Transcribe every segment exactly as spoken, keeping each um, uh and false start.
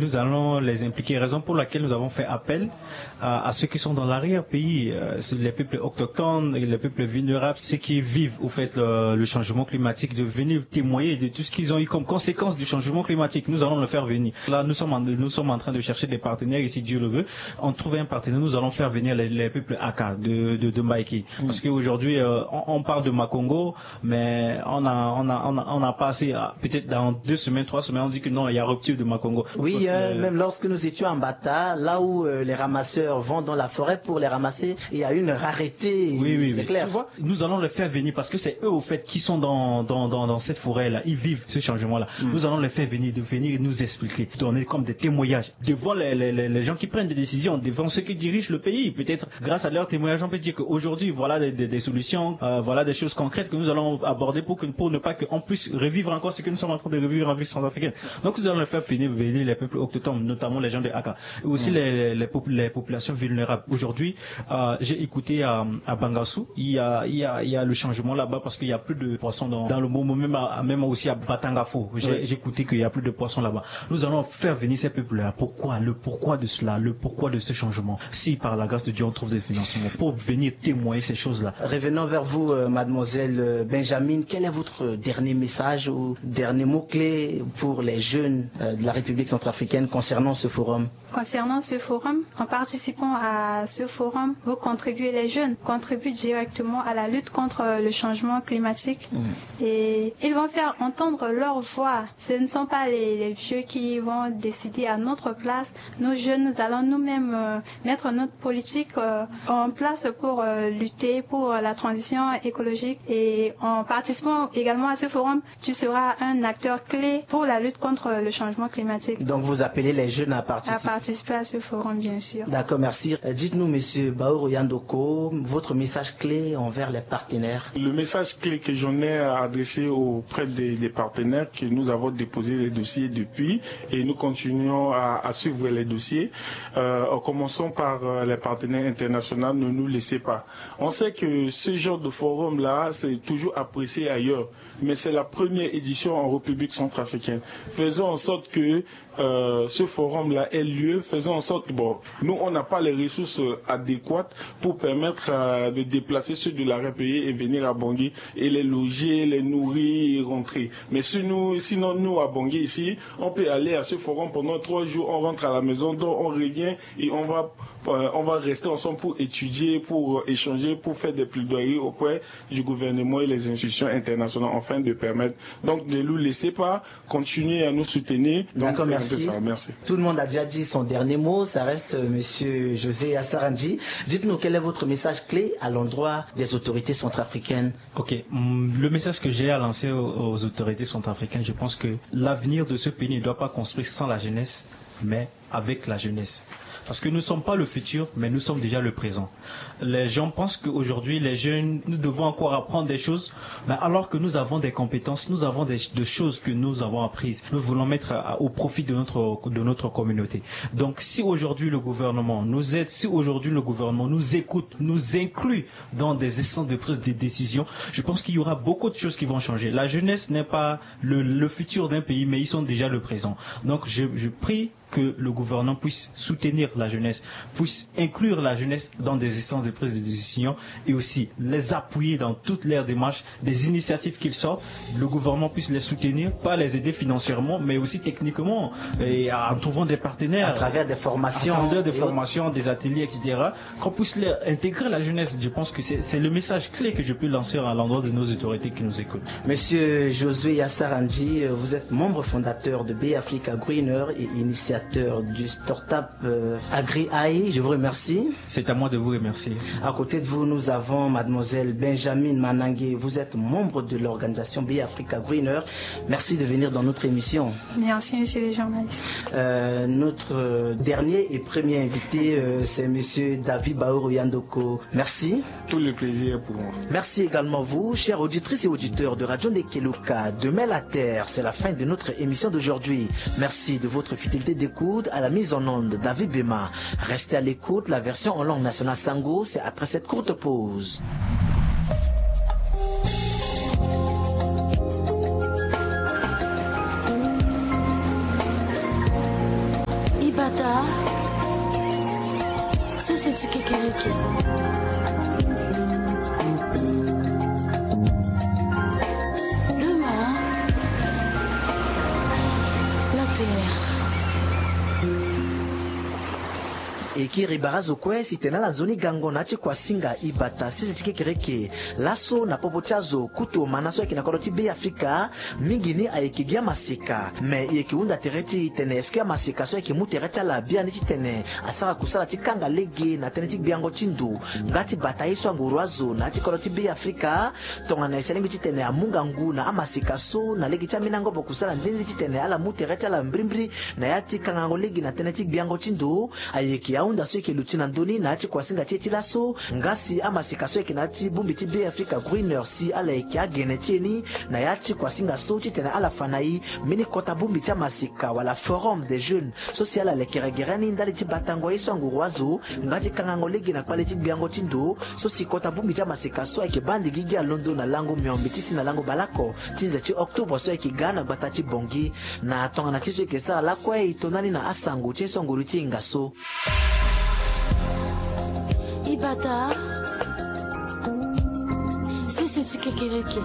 Nous allons les impliquer, raison pour laquelle nous avons fait appel à, à ceux qui sont dans l'arrière-pays, euh, c'est les peuples autochtones, et les peuples vulnérables, ceux qui vivent au fait le, le changement climatique, de venir témoigner de tout ce qu'ils ont eu comme conséquence du changement climatique. Nous allons le faire venir. Là, nous sommes en, nous sommes en train de chercher des partenaires ici, Dieu le veut. On trouve un partenaire, nous allons faire venir les, les peuples Aka de, de, de Mbaïké. Parce qu'aujourd'hui, euh, on, on parle de Makongo, mais on a, on a, on a, on n'a pas assez. Ah, peut-être dans deux semaines, trois semaines, on dit que non, il y a rupture de Makongo. Oui, hein, même lorsque nous étions en Bata, là où, euh, les ramasseurs vont dans la forêt pour les ramasser, il y a une rareté, oui, oui, c'est clair. Tu vois, nous allons les faire venir parce que c'est eux, au fait, qui sont dans, dans, dans, dans cette forêt-là. Ils vivent ce changement-là. Nous allons les faire venir, de venir nous expliquer, donner comme des témoignages devant les, les, les, les gens qui prennent des décisions, devant ceux qui dirigent le pays. Peut-être grâce à leur témoignage, on peut dire qu'aujourd'hui, voilà des, des, des solutions, euh, voilà des choses concrètes que nous allons aborder pour que, pour ne pas qu'on puisse revivre encore ce que nous sommes en train de revivre en ville centrafricaine. Donc nous allons faire venir, venir les peuples autochtones, notamment les gens de Aka, et aussi les, les, les pop-, les populations vulnérables. Aujourd'hui, euh, j'ai écouté à, à Bangassou, il y a, il y a, il y a le changement là-bas parce qu'il y a plus de poissons dans, dans le Momo, même, à, même aussi à Batangafo. J'ai, j'ai écouté qu'il y a plus de poissons là-bas. Nous allons faire venir ces peuples-là. Pourquoi ? Le pourquoi de cela, le pourquoi de ce changement. Si par la grâce de Dieu on trouve des financements pour venir témoigner ces choses-là. Revenons vers vous, euh, mademoiselle, euh, Benjamin. Quel est votre dernier message ou dernier mot-clé pour les jeunes, euh, de la République centrafricaine concernant ce forum ? Concernant ce forum, en participant à ce forum, vous contribuez, les jeunes contribuent directement à la lutte contre le changement climatique. Et ils vont faire entendre leur voix. Ce ne sont pas les, les vieux qui vont décider à notre place. Nous, jeunes, nous allons nous-mêmes, euh, mettre notre politique, euh, en place pour, euh, lutter pour la transition écologique. Et en participant également à ce forum, tu seras un acteur clé pour la lutte contre le changement climatique. Donc vous appelez les jeunes à participer. À participer à ce forum, bien sûr. D'accord, merci. Euh, dites-nous, monsieur Baoro Yandoko, votre message clé envers les partenaires. Le message clé que j'en ai à adresser auprès des, des partenaires, que nous avons déposé les dossiers depuis et nous continuons à, à suivre les dossiers. Euh, en commençant par, euh, les partenaires internationaux, ne nous laissez pas. On sait que ce genre de forum-là, c'est toujours apprécié ailleurs. Mais c'est la première édition en République centrafricaine. Faisons en sorte que, euh, ce forum-là ait lieu. Faisons en sorte que, bon, nous, on n'a pas les ressources, euh, adéquates pour permettre, euh, de déplacer ceux de l'arrière-pays et venir à Bangui et les loger, les nourrir et rentrer. Mais si nous, sinon, nous, à Bangui, ici, on peut aller à ce forum pendant trois jours, on rentre à la maison, donc on revient et on va, euh, on va rester ensemble pour étudier, pour, euh, échanger, pour faire des plaidoiries auprès du gouvernement et les institutions internationales afin de permettre donc ne nous laissez pas, continuer à nous soutenir. Donc, d'accord, c'est un peu ça. Merci. Tout le monde a déjà dit son dernier mot, ça reste, euh, monsieur José Assarandji. Dites-nous quel est votre message clé à l'endroit des autorités centrafricaines. Ok, hum, le message que j'ai à lancer aux, aux autorités centrafricaines, je pense que l'avenir de ce pays ne doit pas construire sans la jeunesse, mais avec la jeunesse. Parce que nous ne sommes pas le futur, mais nous sommes déjà le présent. Les gens pensent qu'aujourd'hui, les jeunes, nous devons encore apprendre des choses, mais alors que nous avons des compétences, nous avons des, des choses que nous avons apprises. Nous voulons mettre à, au profit de notre, de notre communauté. Donc, si aujourd'hui le gouvernement nous aide, si aujourd'hui le gouvernement nous écoute, nous inclut dans des instances de prise de décision, je pense qu'il y aura beaucoup de choses qui vont changer. La jeunesse n'est pas le, le futur d'un pays, mais ils sont déjà le présent. Donc, je, je prie que le gouvernement puisse soutenir la jeunesse, puisse inclure la jeunesse dans des instances de prise de décision et aussi les appuyer dans toutes leurs démarches, des initiatives qu'ils sortent, le gouvernement puisse les soutenir, pas les aider financièrement, mais aussi techniquement, et en trouvant des partenaires. À travers des formations. À travers des formations, des ateliers, et cetera. Qu'on puisse les intégrer la jeunesse. Je pense que c'est, c'est le message clé que je peux lancer à l'endroit de nos autorités qui nous écoutent. Monsieur Josué Yassarandji, euh, vous êtes membre fondateur de Bay Africa Greener et initiateur du startup, euh, Agri Eye. Je vous remercie. C'est à moi de vous remercier. À côté de vous, nous avons mademoiselle Benjamin Manangé. Vous êtes membre de l'organisation Bay Africa Greener. Merci de venir dans notre émission. Merci, monsieur le journaliste. Euh, notre, euh, dernier et premier invité, euh, c'est monsieur David Baoro Yandoko. Merci. Tout le plaisir est pour moi. Merci également vous, chères auditrices et auditeurs de Radio Ndekeluka. Demain la Terre, c'est la fin de notre émission d'aujourd'hui. Merci de votre fidélité d'écoute. À la mise en onde, David Bema. Restez à l'écoute. La version en langue nationale Sango, c'est après cette courte pause. Ata, sese ti kekereke. Demain, la terre. E kiri bara azo kue si tene ala nzoni gango na ya ti kuasinga ibata sese ti kekereke. Laso na popo ti azo kutu omana so ayeke na kodro ti Be Afrika, mingi ni ayeke gi amaseka. Me e yeke hunda tere ti e tene est-ce que amaseka so ayeke mu tere ti ala biani titene asara kusala ti kanga lege na tënë ti gbiango ti ndo nga ti bata ye so anguru azo na ya ti kodro ti Be Afrika? Tongana e sara lingbi titene amu ngangu na amaseka so na lege ti ambeni angobo kusala nde nde titene ala mu tere ti ala mbrimbri na ya ti kangango lege na tënë ti gbiango ti ndo. Ayeke ahunda so e yeke luti na ndö ni na ya ti kuasinga ti e ti laso. Nga si amaseka so ayeke na ya ti bongbi ti Be Afrika Greener si ala yeke agene ti e ni na ya ti kuasinga so titene ala fa na e mbeni kota bongbi ti amaseka wala Forum des Jeunes so si ala lekere gere ni ndali ti batango ye so anguru azo nga ti kangango lege na kpale ti gbiango ti ndo. So si kota bongbi ti amaseka so ayeke baa ndigi gi alondo na lango miombe ti si na lango baleoko ti nze ti octobre so ayeke ga na gbata ti Bangui. Na tongana ti so e yeke sara lakue e to ndani na asango ti e so nguru ti hinga so. Ibata, sese ti kekereke.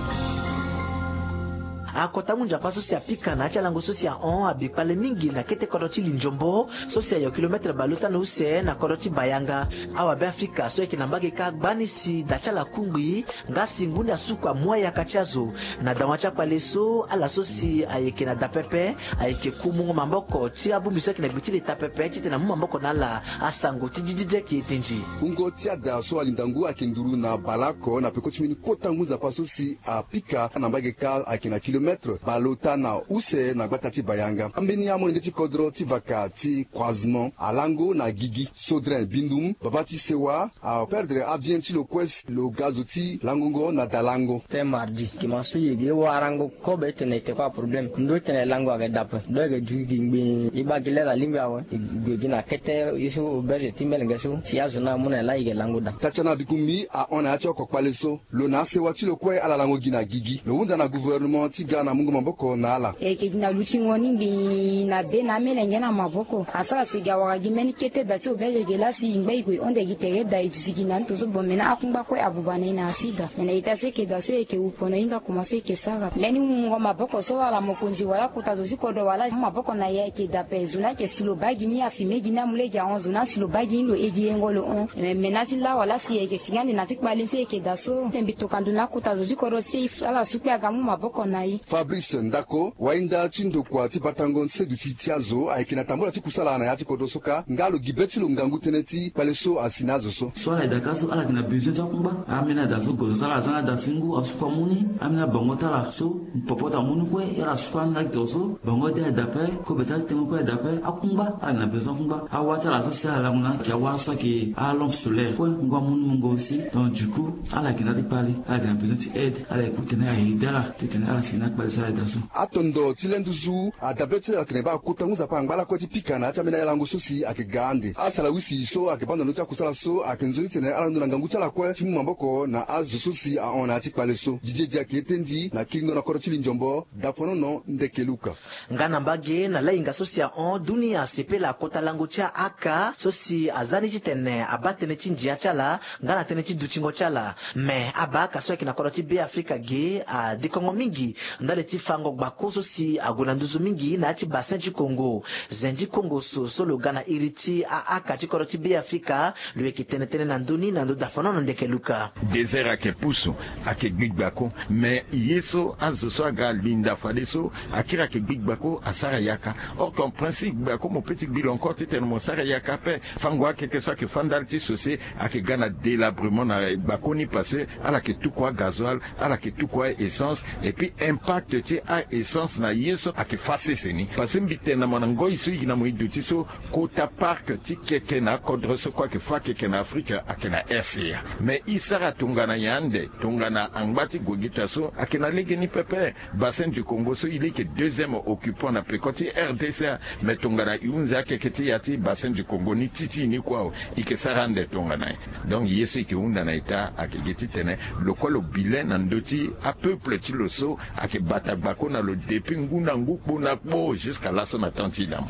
Akota ngu nzapa so si apika na ya ti alango so si ahon abi kpale mingi na kete kodro ti Linzombo so si ayo kilometre bale ota na use na kodro ti Bayanga. Awabe Afrika so ayeke na mbage kâ gbani si da ti ala kungbi. Nga si ngu ni asuku amu ayaka ti azo na dawa ti akpale so, ala so si ayeke na da pepe ayeke ku mungo maboko ti abongbi so ayeke na gbe ti leta pepe titene amu maboko na ala. Asango ti dididi ayeke ete nzi. Kungo ti ada so alinda ngu ayeke nduru na baleoko na peko ti mbeni kota ngu nzapa so si apika na mbage kâ ayeke na kilometre baleota na use na gbata ti Bayanga. Ambeni amolenge ti kodro ti vaka ti croisement alango na gigi, Sodrin Bindum, baba ti sewa, aperdre abien ti lo kue si lo ga zo ti langongo na dalango. Tënë mardi, gima so e yeke warango kobe titene e te kue aproblème. Ndo titene lango ayeke dape, ndo ayeke duti gi ngbii. E baa gi lere alingbi awe, e gue gi na kete ye so auberge ti melenge so si azo ni amu na e laa e yeke lango daa. Tatiana Bikumbi ahon na ya ti oko kpale so. Lo na asewa ti lo kue ala lango gi na gigi. Lo hunda na gouvernement ti ga na mungo maboko na ala. E yeke gi na lutingo ni ngbii na de na amelenge na maboko. Asara si e ga wara gi mbeni kete da ti auberge ge laa si e ngba e gue e honde gi tere da e duti gi na ndo so bon me na akungba kue abuba na e na asida. Me na ita so e yeke da so e yeke wu pono hinga koma so e yeke sara. Mbeni mungo maboko so ala mokonzi wala kota zo ti kodro wala amu maboko na e ayeke da ape. Zo ni ayeke si lo baa gi ni afime gi ni amu lege ahon zo ni asi lo baa gi ni lo e gi yengo lo hon. Me na ti la wala si e yeke si nga ande na ti kpale so e yeke da so. Te mbi tokua ndo na akota zo ti kodro ti e ala su kue aga mu maboko na e. Fabrice Ndako, wainda ti ndokua ti batango ti seduti ti azo ayeke na tambula ti kusala na ya ti kodro so kâ nga lo gi be ti lo ngangu tënë ti kpale so asi na azo so. So ala yeke da kâ so ala yeke na besoin ti akungba. Ambeni ada so gozo so ala za na ada ti ngu asuku amu ni. Ambeni abango ti ala so popo ti amu ni kue ala suku anga gi to so bango de ayeke da ape. Kobe ti atengo kue ayeke da ape. Akungba ala yeke na besoin akungba. Awa ti ala so si ala lango na ayeke awa so ayeke alampe solaire kue ngu amu ni mungo aussi. Donc du coup ala yeke na ya ti kpale ala yeke na besoin ti aide. Ala yeke ku tene aye aide ala titene ala si na akpale so ala yeke da so. Atondo ti le nduzu adabe ti atene baa kota ngu nzapa angba lakue ti pika na ya ti ambeni aye lango so si ayeke ga ande. Asara wisi so ayeke baa ndo na ndö ti akusala so ayeke nzoni titene ala londo na ngangu ti ala kue ti mu maboko na azo so si ahon na ya ti kpale so. Didier Diak ete ndi na kiringo na kodro ti Linzombo. Daponono ndeke Luka. Nga na mbage na lahinga so si ahon dunia asepela kota lango ti aaka so si aza ni titene abaa tënë ti ndia ti ala nga na tënë ti dutingo ti ala. Me abaaka so ayeke na kodro ti Be Afrika ge adekongo mingi ndali ti fango gbako so si ague na nduzu mingi na ya ti Bassin du Congo. Zen ti Kongo so so lo ga na iri ti aaka ti kodro ti Be Afrika. Lo yeke tene tënë na ndö ni na ndö dafonono ndeke Luka. Désert ayeke pusu, ayeke gbi gbako. Me ye so azo so aga linda fadeso akiri ayeke gbi gbako asara yaka. Or qu'en principe gbako mo peut ti gbi lo encore titene mo sara yaka ape. Fango akeke so ayeke fâ ndali ti sose ayeke ga na délabrement na gbako ni parce que ala yeke tuku agazoil, ala yeke tuku a-essence. Et puis impact ti a-essence na ye so ayeke fâ sese ni. Parce que mbi tene na mo na ngoi so e yeke na mo e duti so kota parc ti keke na akodro so kue ayeke fâ keke na Afrika ayeke na R C A. Mais e sara tongana nyen ande? Tongana angba ti gue gita so ayeke na legeni pepe. Bassin du Congo so e leke deuxième occupant na peko ti R D C. Mais tongana e hunzi akeke ti ya ti Bassin du Congo ni ti ti e ni kue awe, e yeke sara ande tongana nyen? Donc ye so e yeke hunda na ita ayeke gi titene lo kue lo bilen na ndö ti apeuple ti lo so ayeke bata gbako na lo depuis ngu na ngu kpo na kpo jusqu'à laso na temps ti e na mo.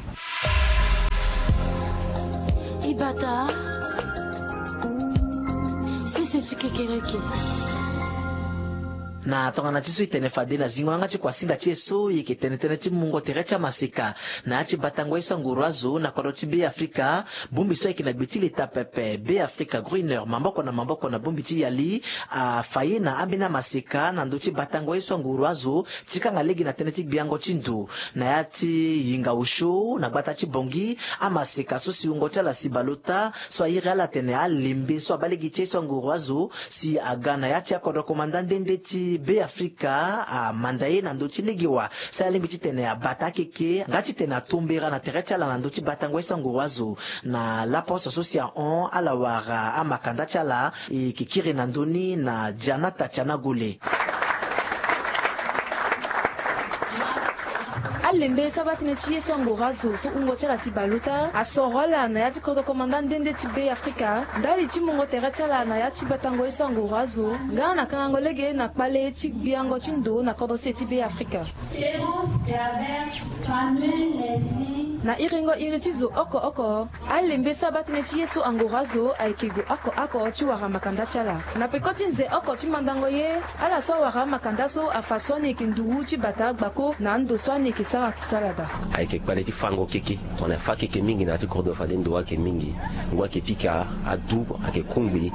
Tata, sese ti kekereke. Na tongana ti so e tene fade na zingo yanga ti kuasinga ti e so, e yeke tene tënë ti mungo tere ti amaseka na ya ti batango ye so anguru azo na kodro ti Be Afrika. Bongbi so ayeke na gbe ti leta pepe, Be Afrika Grüner, maboko na maboko na bongbi ti Yali, afa ye na ambeni amaseka na ndö ti batango ye so anguru azo ti kanga lege na tënë ti gbiango ti ndo na ya ti yinga osio na gbata ti Bangui. Amaseka so si wungo ti ala si baleota so airi ala atene alembe so abaa lege ti ye so anguru azo si aga na ya ti akodro komanda nde nde ti Be Afrika amanda ye na ndö ti lege wa si alingbi titene abata akeke nga titene atombera na tere ti ala na ndö ti batango ye so anguru azo. Na laposo so si ahon ala wara amakanda ti ala, e yeke kiri na ndö ni na Janata Tianagole. Alembe so abaa tënë ti ye so anguru azo so wungo ti ala si baleota asoro ala na ya ti kodro komanda nde nde ti Be Afrika ndali ti mungo tere ti ala na ya ti batango ye so anguru azo nga na kangango lege na kpale ti gbiango ti ndo na kodro se ti Be Afrika. Clémence Gabert, Fanuel Leslie. Na iringo iri ti zo oko oko, alembe so abaa tënë ti ye so anguru azo ayeke gue oko oko ti wara makanda ti ala. Na peko ti nze oko ti mandango ye, ala so awara amakanda so afa so ani yeke nduru ti bata gbako na ando so ani yeke sara kusala daa. Ayeke kpale ti fango keke, tongana e fâ keke mingi na ya ti kodro fade ndo ayeke mingi. Ngu ayeke pika, adu ayeke kongbi,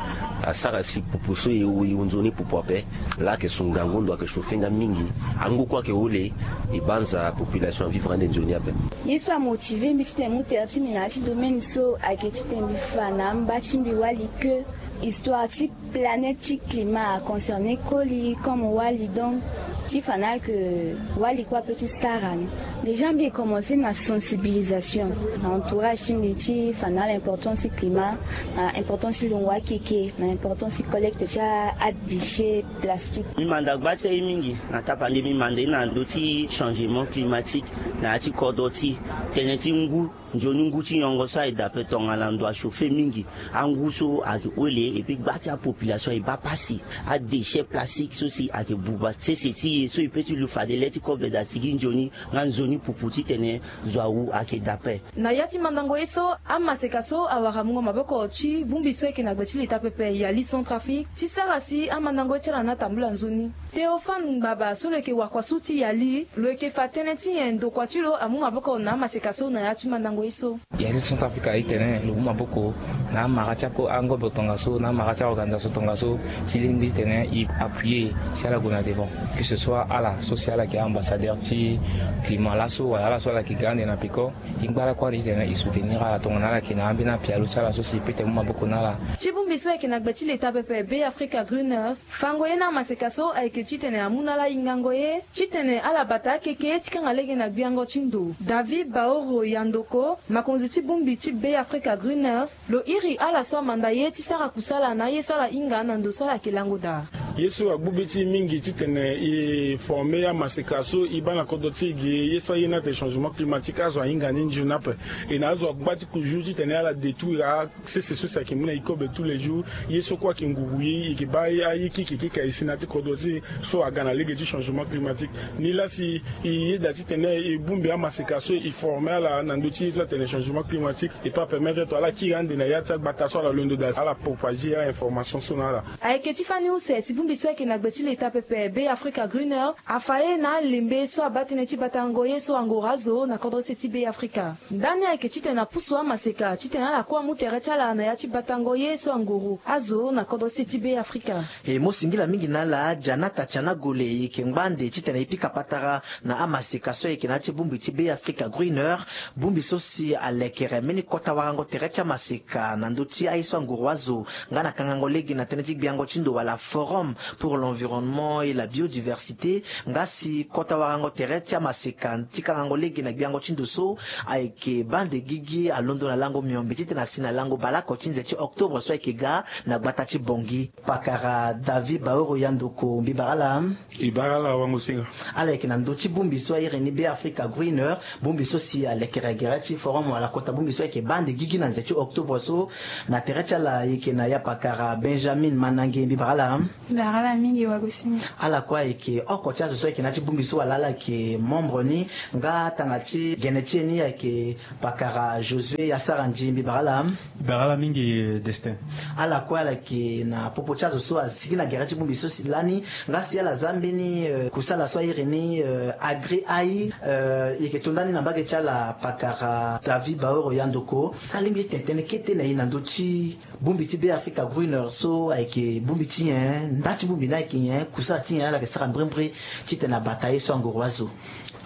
asara si pupu so e, e wu nzoni pupu ape. Laa ayeke su ngangu, ndo ayeke chauffer nga mingi. Angu kue ayeke hole, e banza population avivre ande nzoni ape. Ye so amotive mbi titene mu tere ti mbi na ya ti domaine so ayeke titene mbi fa na amba ti mbi wali que histoire ti planète ti climat a concerner koli comme wali. Donc ti fa na ala que wali kue ape ti sara ni. Déjà mbi commencer na sensibilisation na entourage ti mbi ti fa na ala importance ti climat, na importance ti longo akeke, na importance ti collecte ti adéchets plastiques. Mbi manda gba ti aye mingi na tapande, mbi manda ye na ndö ti changement climatique na ya ti kodro ti e. Tënë ti ngu, nzoni ngu ti nyongo so aye daa ape, tongana ndo achauffer mingi, angu so ayeke hole, et puis gba ti apopulation e baa pasi. Adéchets plastiques so si ayeke buba sese ti e so e peut ti lu fade le ti kobe daa sigi nzoni nga nzoni pupu titene zo awu ayeke daa ape. Na ya ti mandango ye so, amaseka so awara mungo maboko ti bongbi so ayeke na gbe ti leta pepe Yali Centrafrique ti sara si amandango ye ti ala ni atambula nzoni. Théophane Ngbaba so lo yeke wakua so ti Yali, lo yeke fa tënë ti nyen ndokua ti lo amu maboko na amaseka so na ya ti mandango ye so. Yali Centrafrique aye tene lo mu maboko na amara ti ako angobo tongaso, na amara ti aorganisation tongaso, si lingbi titene e appuyer si ala gue na devant. Que ce soit ala so si ala yeke ambassadeur ti climat laso wala ala so ala yeke ga ande na peko, e ngba lakue ande titene e soutenir ala tongana ala yeke na ambeni apialo ti ala so si e peut tene mu maboko na ala. Ti bongbi so ayeke na gbe ti leta pepe Be Africa Greeners, fango ye na amaseka so ayeke titene amu na ala hingango ye titene ala bata akeke ti kanga lege na gbiango ti ndo. David Baoro Yandoko, makonzi ti bongbi ti Be Africa Greeners, lo iri ala so amanda ye ti sara kusala na aye so ala hinga na ndo so ala yeke lango daa. Ye so agbu be ti e mingi titene e former amaseka so e baa na kodro ti e ge ye so aye ni atene changement climatique, azo ahinga ni nzoni ape. E na azo agba ti kuzu titene ala détruire a sese so si ayeke mu na e kobe tous les jours. Ye so kue ayeke nguru ye, e yeke baa aye keke keke aye si na ya ti kodro ti e so aga na lege ti changement climatique. Nilaa si e yeda titene e bongbi amaseka so e former ala na ndö ti ye so atene changement climatique, e peut apermettre to ala kiri ande na ya ti agbata so ala londo daa, ala propager a-information so na ala. Ayeke ti fani use si bongbi so ayeke na gbe ti leta pepe Be Africa Greener afa ye na alembe so abaa tënë ti batango ye so angoro azo na kodro se ti Be Africa. Ndani ayeke titene apusu amaseka titene ala kue amu tere ti ala na ya ti batango ye so angoro azo na kodro se ti Be Africa. E mo singila mingi na ala, Janata Tianagole, e yeke ngba ande titene e pika patara na amaseka so ayeke na ya ti bongbi ti Be Africa Greener, bongbi so si alekere mbeni kota warango tere ti amaseka na ndö ti aye so anguru azo, nga na kangango lege na tënë ti gbiango ti ndo wala Forum pour l'environnement et la biodiversité, nga si kota warango tere ti amaseka ti kangango lege na gbiango ti ndo so ayeke baa ande gigi alondo na lango miombe titene asi na lango baleoko ti nze ti octobre so ayeke ga na gbata ti Bangui. Pakara David Baoro Yandoko, mbi bara ala. E bara ala wango-singa. Ala yeke na ndö ti bongbi so airi ni Be Africa Greener, bongbi so si alekere gere ti Forum wala kota bongbi so ayeke baa ande gigi na nze ti octobre so. Na tere ti ala e yeke na ya pakara Benjamin Manange, mbi bara ala. Bara ala mingi wagosinga. Ala kue ayeke oko ti azo so ayeke na ya ti bongbi so wala ala yeke membre ni nga tanga ti gene ti e ni ayeke pakara Josué Asarandji, mbi bara ala. Bara ala mingi, Destin. Ala kue ala yeke na popo ti azo so asigi na gere ti bongbi so si lani nga si ala za mbeni kusala so airi ni, agri ai. E yeke to ndani na mbage ti ala pakara David Baoro Yandoko. Alingbi ti tene tënë kete na e na ndö ti bongbi ti Be Africa Greener so ayeke bongbi ti nyen, nda ti bongbi ni ayeke nyen, kusala ti nyen ala yeke sara mbrimbri titene abata ye so anguru azo.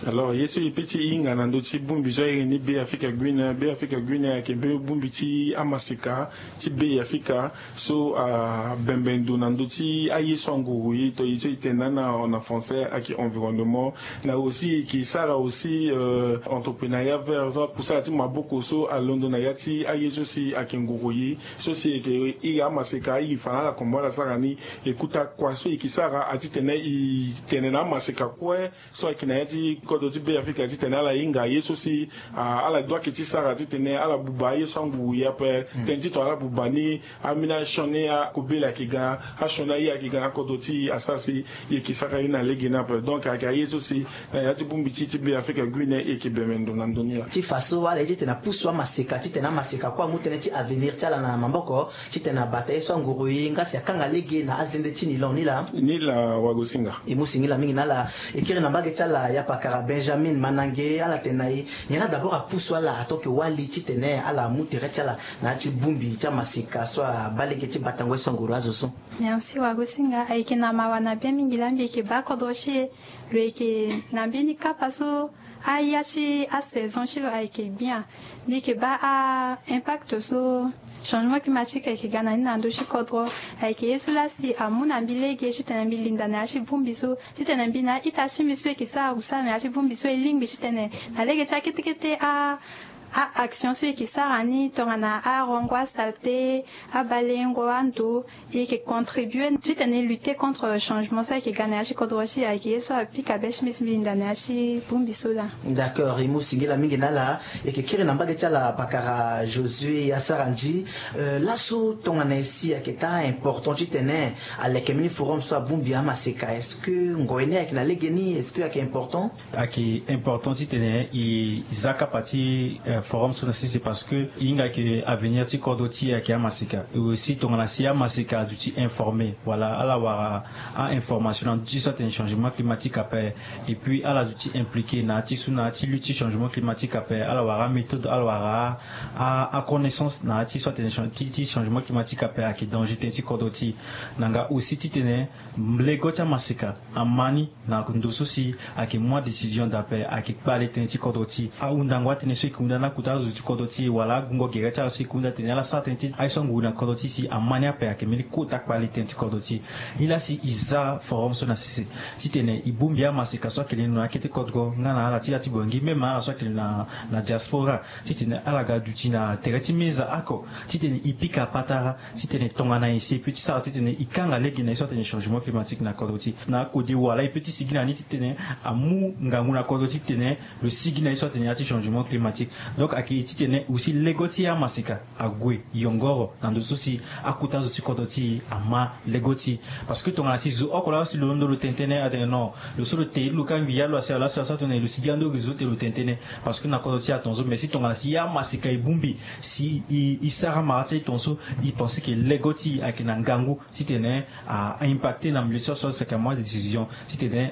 Alors ye so e pe ti hinga na ndö ti bongbi so airi ni Be Africa Greener, Be Africa Greener ayeke mbeni bongbi ti amaseka ti Be Africa so abembe ndo na ndö ti aye so anguru ye to ye so e tene na na français ayeke environnement. Na aussi e ke sara aussi entreprenariat vert so akusala ti maboko so alondo na ya ti aye so si ayeke nguru ye so si e ke iri amaseka iri fa na ala kombo ala sara ni. E kuta kua so e ke sara atitene e tene na amaseka kue so ayeke na ya ti kodro ti Be Africa titene ala hinga ye so si ala doit ke ti sara titene ala buba aye so anguru ye ape. Tënë ti tongana ala buba ni, ambeni asioni akobela ayeke ga, asioni aye ayeke ga na kodro ti e asara si e yeke sara ye na lege ni ape. Donc ayeke aye so si na ya ti bongbi ti ti Be Africa Greener e yeke bembe ndo na ndö ni laa. Ti fa so ala ye titene apusu amaseka titene amaseka kue amu tënë ti avenir ti ala na maboko titene abata ye so anguru ye nga si akanga lege na azende ti nilon ni laa. Ni laa wagosinga. E mu singila mingi na ala. E kiri na mbage ti ala ya pakara Benjamin Manange, ala tene na e nyen laa d'abord apusu ala ato ke wali titene ala mu tere ti ala na ya ti bongbi ti amaseka so abaa lege ti batango ye so anguru azo so. Merci wagosinga. Ayeke na mawa na bien mingi laa mbi yeke baa kodro ti e. Lo yeke na mbeni kapa so aya ti asaison ti lo ayeke bien. Mbi yeke baa a-impact so changement climatique ayeke ga na ni na ndö ti kodro. Ayeke ye so laa si amu na mbi lege titene mbi linda na ya ti bongbi so titene mbi na a-ita ti mbi so e yeke sara kusala na ya ti bongbi so e lingbi titene na lege ti akete kete a a-action so e yeke sara ni tongana arongo asalte, abalengo ando, e yeke contribuer titene e lutter contre changement so ayeke ga na ya ti kodro ti e. Ayeke ye so apika be ti mbi si mbi linda na ya ti bongbi so laa. D'accord, e mu singila mingi na ala. E yeke kiri na mbage ti ala pakara Josué Asarandji. Laso tongana e si ayeke taa important titene aleke mbeni forum so abongbi amaseka, est-ce que ngoi ni ayeke na lege ni, est-ce que ayeke important? Ayeke important titene e za kapa ti forum so na sese parce que e hinga ayeke avenir ti kodro ti e ayeke amaseka. E aussi tongana si amaseka aduti informer wala ala wara a-information na ndö ti so atene changement climatique ape. Et puis ala duti impliqué na ya ti so na ya ti lutte ti changement climatique ape, ala wara améthode, ala wara a-connaissance na ya ti so atene ti changement climatique ape ayeke danger tënë ti kodro ti e. Na nga aussi titene lego ti amaseka ama ni na ndo so si ayeke mu adécision d'ape ayeke kpale tënë ti kodro ti e. Ahundango atënë so e yeke hunda na akota azo ti kodro ti e wala agungo gere ti ala so e yeke hunda atene ala sara tënë ti aye so anguru na kodro ti e si ama ni ape ayeke mbeni kota kpale tënë ti kodro ti e. Nilaa si e za forum so na sese titene e bongbi amaseka so ayeke lendo na akete kodro nga na ala ti ya ti Bangui même ala so ayeke lendo na diaspora titene ala ga duti na tere ti meza oko titene e pika patara titene tongana nyen si e peut ti sara titene e kanga lege na ye so atene changement climatique na kodro ti e. Na akode wala e peut ti sigi na ni titene amu ngangu na kodro ti e titene lo sigi na ye so atene ya ti changement climatique. Donc ayeke titene aussi lego ti amaseka ague yongoro na ndo so si akota zo ti kodro ti e ama lego ti e. Parce que tongana si zo oko laa si lo londo lo tene tënë atene non, lo so lo te lo kangbi ya lo asi ala so asara tongana nyen lo sigi ando réseau te lo tene tënë. Parce que na kodro ti e atongaso mais si tongana si amaseka e bongbi si e sara mara ti e tongaso, e pense ke lego ti e ayeke na ngangu titene a-impacté na milieu so so aseka amu adécision titene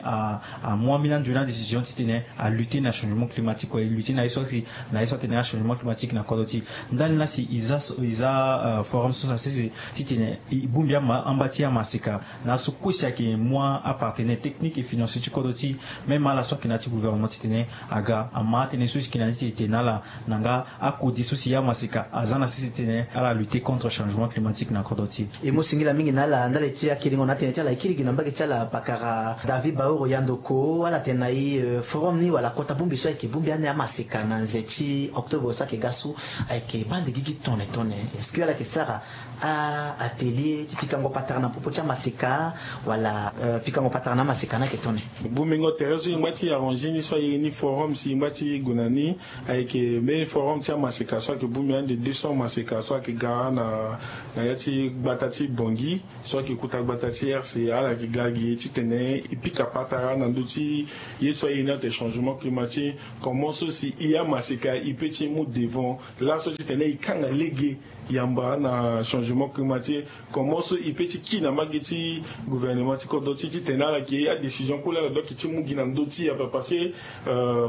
amu ambeni anzoni adécision titene alutter na changement climatique kue, lutter na ye so si na ye so atene achangement climatique na kodro ti e. Ndani laa si e za forum so na sese titene e bongbi amba ti amaseka na aso kue si ayeke mu apartenaire technique et financier ti kodro ti e, même ala so ayeke na ya ti gouvernement titene aga ama atënë so si e yeke na ni ti e tene na ala na nga akode so si amaseka aza na sese titene ala lutter contre changement climatique na kodro ti e. E mu singila mingi na ala ndali ti akerengo na atënë ti ala e kiri gi na mbage ti ala pakara David Baoro Yandoko, ala tene na e forum ni wala kota bongbi so ayeke bongbi ani amaseka na nze ti octobre so ayeke ga so ayeke baa nde gigi tone tone. Est-ce que ala yeke sara a-atelier ti pikango patara na popo ti amaseka wala pikango patara na amaseka ni ayeke tone? Bongbingo tere so e ngba ti arranger ni so aye ni forum si e ngba ti gue na ni ayeke mbeni forum ti amaseka. So ayeke bongbi ande deux cents maseka so ayeke ga na na ya ti gbata ti Bangui, so ayeke kota gbata ti R C A, ala yeke ga gi titene e pika patara na ndö ti ye so airi ni atene changement climatique. Comment so si e amaseka e peut ti mu devant laso titene e kanga lege yamba na changement climatique? Comment so e peut ti ki na mbage ti gouvernement ti kodro ti e titene ala yeke adécision kue laa ala doit ti mu gi na ndö ti e ape? Parce que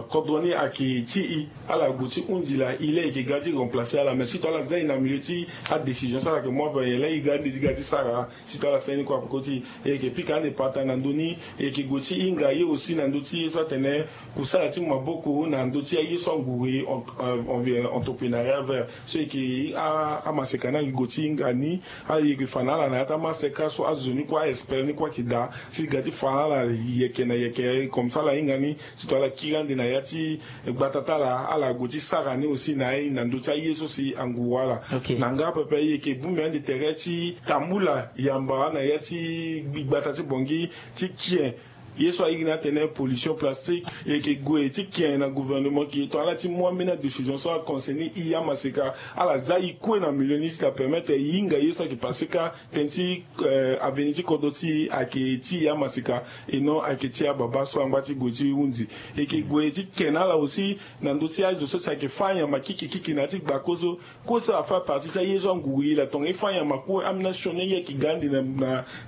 kodro ni ayeke ti e, ala gue ti hundi laa, e laa e yeke ga ti remplacer ala. Mais si to ala za e na milieu ti adécision so ala yeke mu ape, e laa e ga ande ti ga ti sara. Si to ala sara ni kue ape koti, e yeke pika ande patara na ndö ni. E yeke gue ti hinga ye aussi na ndö ti ye so atene kusala ti maboko na ndö ti aye so anguru e entrepreneuriat vert. So e yeke amaseka ni ayeke gue ti hinga ni. Ala yeke fa na ala na ya ti amaseka so azo ni kue, a-expert ni kue ayeke daa, si e ga ti fa na ala yeke na yeke comme ça ala hinga ni. Si to ala kiri ande na ya ti gbata ti ala, ala gue ti sara ni aussi na aye na ndö ti aye so si anguru ala. Na nga pepe e yeke bongbi ande tere ti tambula yamba na ya ti gbata ti Bangui ti kie ye so airi ni atene pollution plastique. E yeke gue ti kie na gouvernement ki tongana ala ti mu ambeni adécision so aconcerné e amaseka, ala za e kue na milieu ni ti ta permettre e hinga ye so ayeke passé kâ tënë ti avenir ti kodro ti e ayeke ti e amaseka, et non ayeke ti ababâ so angba ti gue ti hundi. E yeke gue ti ken na ala aussi na ndö ti azo so si ayeke fâ nyama kiki kiki na ya ti gbakozo. Kue so afâ partie ti aye so anguru e la tongana e fâ nyama kue, ambeni asioni ye ayeke ga ande na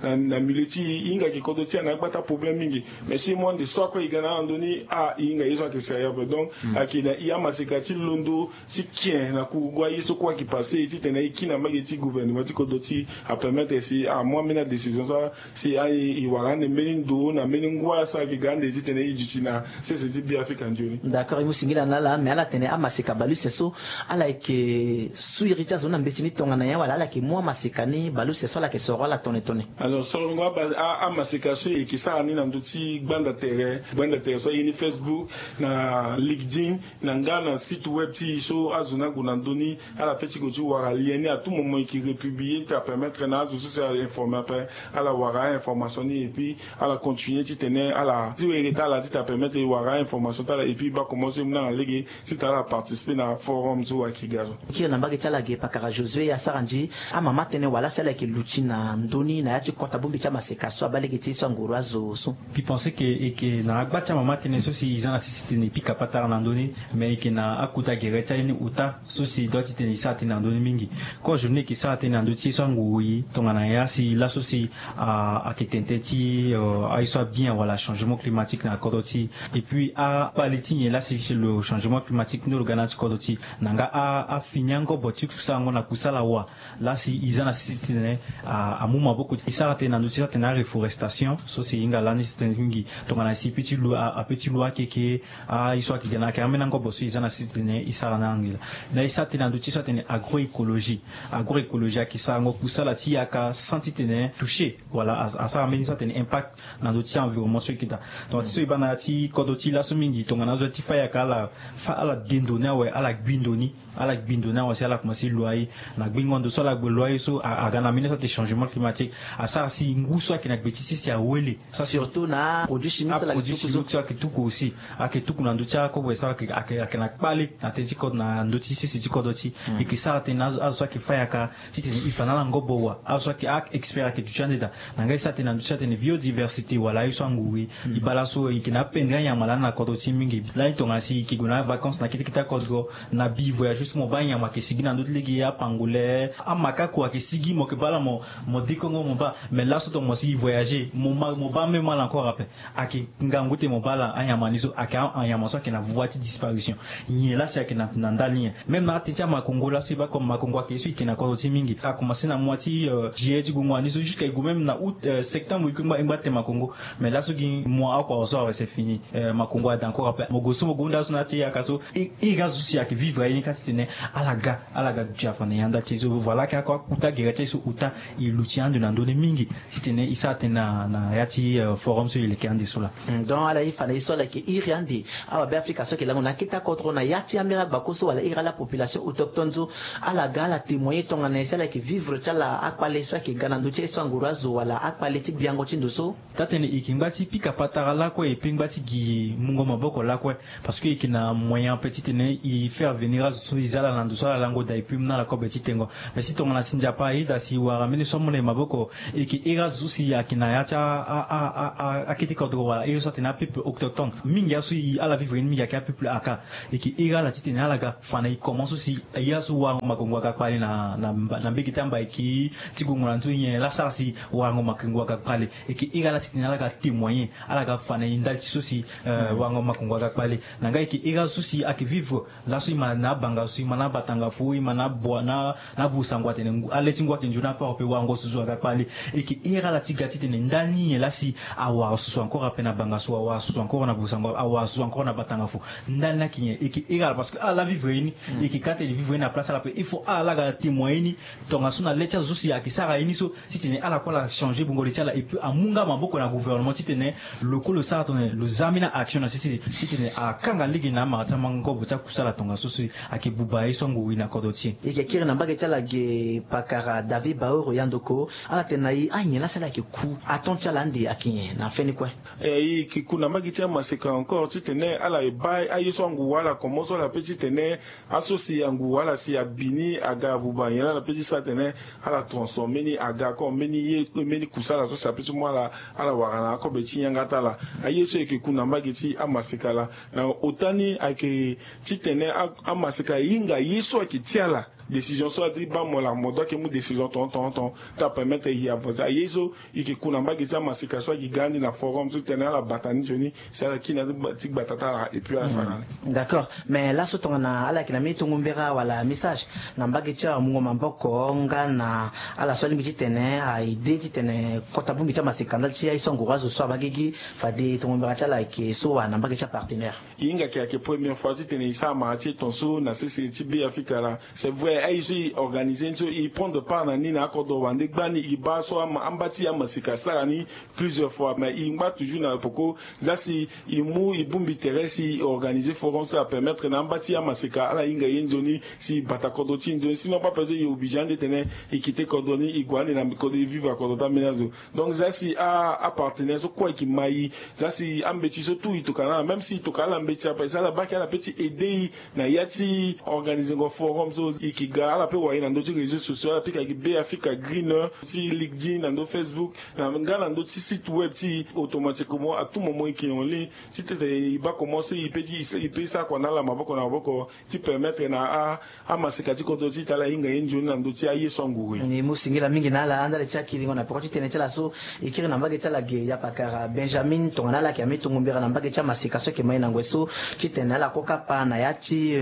na na milieu ti e, e hinga ayeke kodro ti e na agbata problème mingi. Mais si e mu ande so akue e ga na ala ndö ni, ah, e hinga ye so ayeke sérieux ape. Donc ayeke na e amaseka ti londo ti kie na kurugu aye so kue ayeke passé, titene e ki na mbage ti gouvernement ti kodro ti e apermettre si amu ambeni adécision so si e wara ande mbeni ndo na mbeni ngua so ayeke ga ande titene e duti na sese ti Beafrika nzoni. D'accord, e mu singila na ala, mais ala tene amaseka baluse so ala yeke su iri ti azo ni na mbeti ni tongana nyen, wala ala yeke mu amaseka ni baluse so ala yeke soro ala tone tone? Alors solongo aba- a- amaseka so e yeke sara ni na ndö ti gbanda tere, gbanda tere so aye ni Facebook, na LinkedIn, na nga na site web ti e so azo ni ague na ndö ni, ala peut ti gue ti wara lien ni à tout moment, e yeke republier ti apermettre na azo so si a-informer ape, ala wara a-information ni, et puis ala continuer titene ala ti were ti ala ti ta permettre e wara a-information ti ala, et puis e baa comment so e mu na ala lege ti ta ala participer na forum so ayeke ga so. Kiri na mbage ti ala ge pakara Josué Asara Ndji, amama tënë wala si ala yeke luti na ndö ni na ya ti kota bongbi ti amaseka so abaa lege ti ye so anguru azo so? Mbi pense que e yeke na agba ti amama tënë so si e za na sese titene e pika patara na ndö ni, mais e yeke na akota gere ti aye ni ota so si e doit titene e sara tënë na ndö ni mingi. Kozo ni e yeke sara tënë na ndö ti ye so anguru e tongana ya si laso si ayeke tene tënë ti aye so abien wala changement climatique na kodro ti e. Et puis akpale ti nyen laa si le changement climatique ni lo ga na ya ti kodro ti e, na nga afini angobo ti kusango na kusala wa. Laa si e za na sese titene amu maboko ti e sara tënë na ndö ti sara tënë aréforestation so si e hinga lani tënë mingi tongana si e peut ti lu a- ape ti lu akeke. Aye so ayeke ga na ayeke ambeni angobo so e za na sese titene e sara na angela. Na e sara tënë na ndö ti so atene agroécologie. Agroécologie ayeke sarango kusala ti yaka sans titene toucher wala asara mbeni so atene impact na ndö ti environnement so e yeke daa. Tongana ti so e baa na ya ti kodro ti e laso mingi tongana azo ti fâ yaka ala fâ ala de ndo ni awe, ala gbi ndo ni. Ala gbi ndo ni awe si ala komanse lo aye. Na gbingo ndo so ala gbe lo aye so aga na mbeni so atene changement climatique. Asara si ngu so ayeke na gbe ti sese awele. Surtout na aproduit chimique so ala yeke tuku so ayeke tuku aussi. Ayeke tuku na ndö ti akobo so ayeke na kpale na tënë ti kodro na ndö ti sese ti kodro ti e. E yeke sara tënë na azo so ayeke fâ yaka titene e fa na ala ngobo wa. Azo so ayeke a-expert ayeke duti ande daa. Na nga e sara tënë na ndö ti atene biodiversité wala aye so anguru e baa laso e yeke na apendre anyama lani na kodro ti e mingi. Lani tongana si e yeke gue na avacance na kete kete akodro na bi voyage so mo baa anyama ayeke sigi na ndö ti lege apangolais, amakako ayeke sigi mo yeke baa ala mo mo dekongo mo baa. Mais laso tongana mo si e voyager mo ma mo baa même ala encore ape. Ayeke ngangu ti mo baa ala anyama ni so ayeke anyama so ayeke na voie ti disparition. Nyen laa si ayeke na ndali nyen? Même na atënë ti amakongo laa so e baa comme makongo ayeke ye so e yeke na kodro ti e mingi. Akomanse na mois ti juillet ti gongo wani so jusqu'à e gue même na août, septembre e kue e ngba tene makongo. Mais laso gi mois oko awe so awe c'est fini. Makongo ada encore ape mo gue so mo gue hunda so na ya ti e yaka so. Iri azo so si ayeke vivre aye ni kâ titene ala ga ala ga duti afa na e ya ndali ti e so. Voilà ayeke akota gere ti aye so ota. E luti ando na ndö ni mingi titene e sara tënë na ya ti forum. so e leke ande so laa. Donc ala ye fa na ye so ala yeke iri ande awa Beafrika so ayeke lango na akete akodro na ya ti ambeni agbako so wala iri ala population autochtone so, ala ga ala témoigner tongana nyen si ala yeke vivre ti ala akpale so ayeke ga na ndö ti aye so anguru azo wala akpale ti gbiango ti ndo so. Taa-tënë e yeke ngba ti pika patara lakue e pe ngba ti gi mungo maboko lakue. Parce que e yeke na moyen ape titene e faire venir azo so e za ala na ndo so ala lango daa e pe mu na ala kobe ti tengo. Mais si tongana si Nzapa ayeda si e wara mbeni so amu na e maboko, e yeke iri azo so si ayeke na ya ti akete kodro wala iri so atene apeuple autochtone mingi aso e ala vivre ni mingi ayeke apeuple aka. E yeke iri ala titene ala ga fa na e koman so si e azo warango makongo aga kpale na mbege ti amba e ke ti gongo na ndö nyen laa asara si warango makongo aga kpale. E yeke iri ala titene ala ga témoigner ala ga fa na e ndali ti so si warango makongo aga kpale. Na nga e yeke iri azo so si ayeke vivre laso e ma na abanga so e ma na abatanga fo e ma na abua na abusango atene ale ti ngu ayeke nzoni ape ape warango susu aga kpale. E yeke iri ala ti ga titene ndali ni nyen laa si awara susu encore ape na banga so awara susu encore na busango awara susu encore na batanga fo. Ndali ni ayeke nyen e yeke iri ala parce que ala laa vivre ye ni. E yeke ka tene vivre ye ni na place ala ape il faut ala laa aga témoigner ni. Tongaso na le ti azo so si ayeke sara ye ni so titene ala kue ala changer bongo li ti ala et puis amu nga maboko na gouvernement titene lo kue lo sara tongana lo za ambeni action na sese titene akanga lege na amara ti amango kobo ti akusala tongaso si ayeke buba ye so anguru e na kodro ti e. E yeke kiri na mbage ti ala ge pakara David Baoro Yandoko. Ala tene na e anyen laa si ala yeke ku aton ti ala ande ayeke nyen na feni kue? E yeke ku na mbage ti amaseka encore titene ala e baa aye so anguru ala komo so ala pe titene aso si anguru ala si abi ni aga abuba nyen laa ala pe ti sara tene ala transformer ni aga comme mbeni ye mbeni kusala so si ape ti mu ala ala wara na akobe ti yanga ti ala. Aye so e yeke ku na mbage ti amaseka laa na ota ni ayeke titene amaseka e hinga ye so ayeke ti ala. Décision so adi baa mo laa mo doit ke mu décision ton ton ton ti apermettre e avancer aye so e yeke ku na mbage ti amaseka so ayeke ga ande na forum so tene ala bata ni nzoni si ala kiri na ti gbata ti ala et puis ala sara ni. D'accord. Mais laso tongana ala yeke na mbeni tongo mbera wala message na mbage ti amungo maboko nga na ala so alingbi titene a aide titene kota bongbi ti amaseka ndali ti aye so anguru azo so abaa gigi fade tongo mbera ti ala ayeke so wa na mbage ti apartenaire? E hinga ke ayeke première fois titene e sara mara ti e ton so na sese ti Beafrika laa. C'est vrai aye so e organiser ni so e prendre part na ni na akodro wande gbani e baa so amba ti amaseka asara ni plusieurs fois mais e ngba toujours na poko za si e mu e bongbi tere si e organiser forum so apermettre na amba ti amaseka ala hinga ye nzoni si e bata kodro ti e nzoni sinon pas besoin e obligé ande tene e quitter kodro ni e gue ande na kodro e vivre na kodro ti ambeni azo. Donc za si apartenaire so kue ayeke ma e za si ambeti so tout e tokana ala même si e tokana ala mbeti ape si ala baa ke ala pe ti aider e na ya ti organiser ngo forum so e yeke ga ala pe wara e na ndö ti réseau sociaux ala pika gi Beafrika Green ti LinkedIn na ndö Facebook na nga na ndö ti site web ti e automatiquement à tout moment e yeke en ligne titene e baa comment so e pe ti e pe e sara kua na ala maboko na maboko ti permettre na amaseka ti kodro ti e ti ala hinga ye nzoni na ndö ti aye so anguru e. E mu singila mingi na ala ndali ti akiringo na peko ti tënë ti ala so. E kiri na mbage ti ala ge yapakara Benjamin tongana ala yeke amê tongo mbira na mbage ti amaseka so ayeke ma e na ngoi so titene ala kue kapa na ya ti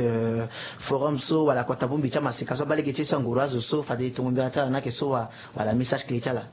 forum so wala kota bongbi ti amaseka so abaa lege ti ye so anguru azo so fade tongo mbira ti ala ni ayeke so wa wala message clé ti ala?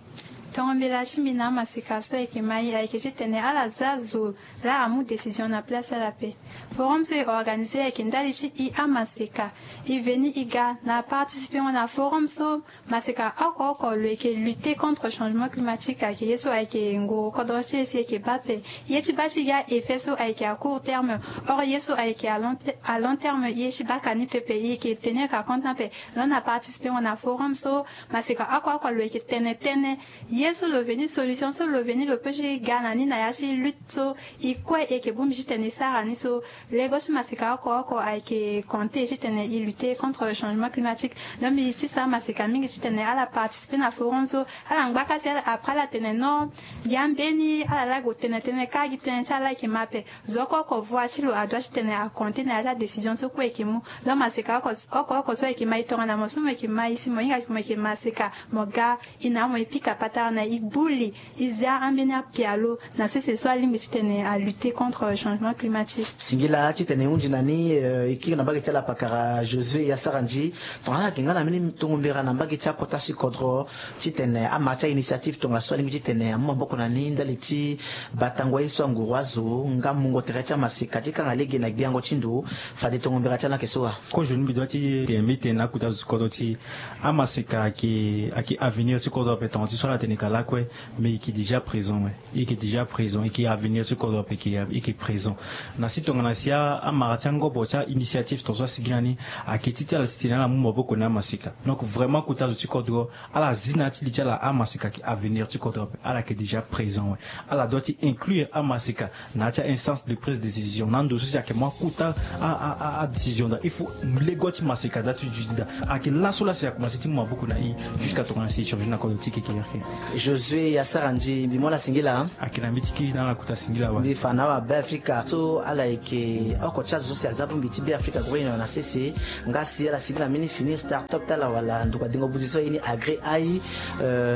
Tongo mbira ti mbi na amaseka so ayeke ma e ayeke titene ala za zo laa amu décision na place ti ala ape. Forum so e organiser ayeke ndali ti e amaseka e veni e ga na participer ngo na forum so maseka oko oko lo yeke lutter contre changement climatique ayeke ye so ayeke nguru kodro ti e si e yeke baa ape. Ye ti baa ti e ga effet so ayeke à court terme. Or ye so ayeke à long terme ye ti baa ka ni pepe e yeke tenir ka compte ni ape. Lo na participer ngo na forum so maseka oko oko lo yeke tene tënë ye so lo veni solution so lo veni lo pe ti ga na ni na ya ti lutte so e kue e yeke bongbi titene e sara ni so. Lego ti maseka oko oko ayeke compter titene e lutter contre changement climatique. Donc mbi ti sara maseka mingi titene ala participer na forum so ala ngbaka ti ala après ala tene non. Gi ambeni ala laa gue tene tënë kâ gi tënë ti ala laa ayeke ma ape. Zo oko oko voix ti lo adoit titene acompter na ya ti adécision so kue e yeke mu. Donc maseka oko oko so ayeke ma e tongana mo so mo yeke ma e si mo hinga mo yeke maseka mo ga e na mo e pika patara na e gbu li e zia ambeni apialo na sese so alingbi titene alutter contre changement climatique. Singila titene e hunzi na ni e kiri na mbage ti ala pakara Josué Yasaranzi. Tongana ala yeke nga na mbeni tongo mbira na mbage ti akota ti kodro titene ama ti ainitiative tongaso alingbi titene amu maboko na ni ndali ti batango ye so anguru azo nga mungo tere ti amaseka ti kanga lege na gbiango ti ndo fade tongo mbira ti ala ayeke so wa? Kozo ni mbi doit ti tene mbi tene na akota zo ti kodro ti amaseka ayeke ayeke avenir ti kodro ape tonga ti so ala tene Ka lakue, mais il est déjà présent, ouais. Il est déjà présent, il est avenir ti kodro ape, il est présent. Na si tongana si amara ti angobo ti ainitiative tonso asigi na ni, ayeke ti ti ala ti tene ala mu maboko na amaseka. Donc vraiment kota zo ti kodro, ala zi na ya ti li ti ala amaseka ayeke avenir ti kodro ape, ala yeke déjà présent, ouais. Ala doit ti inclure amaseka na ya ti ainstance de prise de décision na ndo so si ayeke mu akota adécision daa, il faut lego ti maseka daa ti duti daa. Ayeke laso laa si akomanse ti mu maboko na i jusqu'à tongana si échange na kodro ti kekereke. Josué Yassara Ndji, mbi mu ala singila. Ayeke na mbi ti kiri na ala kota singila wa. Mbi fa na awabe afrika so ala yeke oko ti azo so si aza bongbi ti be afrika gro union na sese. Nga si ala singila mbi ni fini start-up ti ala wala nduka dengo buzi so aye ni agré ai.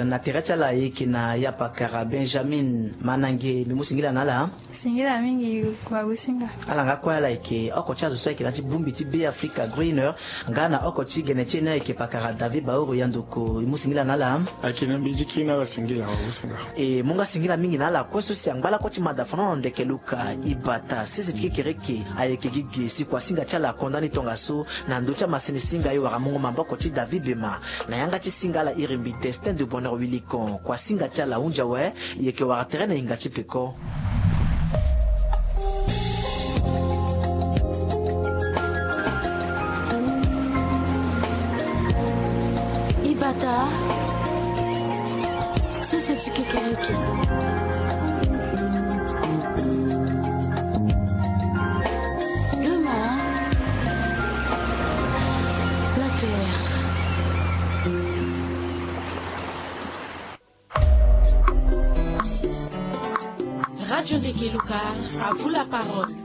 Na tere ti ala ayeke na yapakara Benjamin Manange, mbi mu singila na ala. Singila mingi. Wagusinga. Ala nga kue ala yeke oko ti azo so ayeke na ya ti bongbi ti be afrika gro union. Nga na oko ti gene ti e ni ayeke pakara David Baoro Yandoko, e mu singila na ala. Ayeke na mbi ti kiri na ala singila wagusinga. E mu nga singila mingi na ala kue so si angba lakue ti manda fano na ndeke luka ibata sese ti kekereke. Ayeke gi ge si kuasinga ti ala akonda ni tongaso na ndö ti amasene singa e wara mungo maboko ti David Bema. Na yanga ti singa ala iri mbi Destin de Bonheur Wilikon, kuasinga ti ala ahunzi awe. E yeke wara tere na hinga ti peko. Ibata sese ti kekereke. Demain, la terre. Radio Ndeke Luka, à vous la parole.